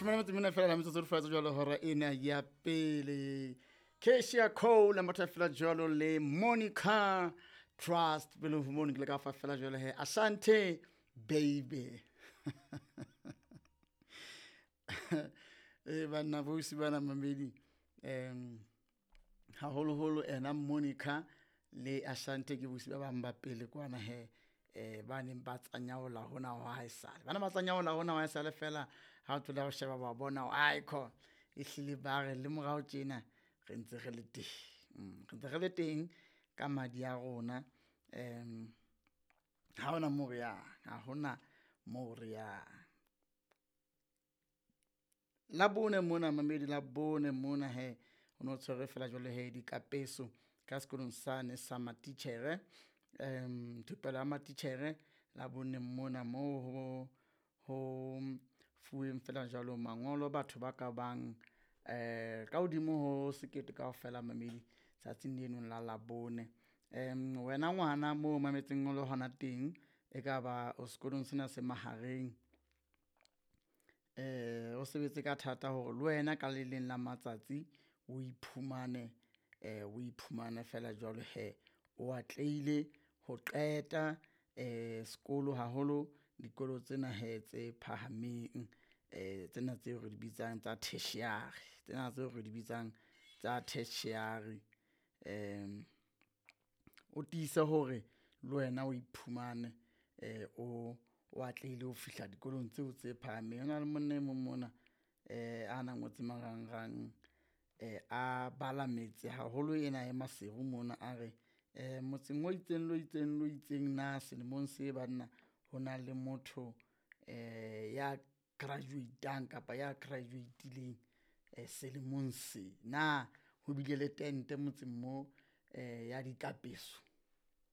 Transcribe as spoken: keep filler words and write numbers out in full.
Leshome le metso e mene fela la metsotso re faetse jwalo hora ena ya pele. Keshia Cole a matha fela jwalo le Monica Trust pele ho mono ke le ka fa fela jwalo he Asante baby. E banna bosi bana mamedi um haholoholo ena Monica le Asante ke bosi ba bang ba pele kwana he eh ba neng ba tsanyaola hona ho haesale. Bana ba tsanyaola hona ho haesale fela ha o thola ho sheba ba bona hore ae ehlile ba re le morao tjena re ntse re le teng. Mm, re ntse re le teng ka madi a rona. Um ha hona moo re yang, ha hona moo re yang. Labone mona mamedi Labone mona he o no tshwere fela jwalo he dikapeso ka sekolong sane sa matitjhere. Um thupelo ya matitjhere Labone mona moo ho ho fuweng fela jwalo mangolo batho ba ka bang eh ka hodimo ho sekete kaofela mamedi tsatsing leno la Labone. Um wena ngwana moo mametseng o le hona teng, e ka ba o sekolong sena se mahareng. Eh o sebetse ka thata hore le wena ka le leng la matsatsi o iphumane eh o iphumane fela jwalo he o atlehile ho qeta eh sekolo haholo dikolo tsena hee tse phahameng. Eh tsena tseo re di bitsang tsa tertiary, tsena tseo re di bitsang tsa tertiary. Um o tiise hore le wena o iphumane eh o o atlehile ho fihla dikolong tseo tse phahameng. Ho na le monna e mong mona eh ana ngotse marangrang eh a bala metse haholo ena ya Maseru mona a re eh motseng o itseng le o itseng le o itseng na selemong se banna ho na le motho eh ya graduate-ang kapa ya graduate-ileng selemong se. Na ho bile le tente motseng moo eh ya dikapeso?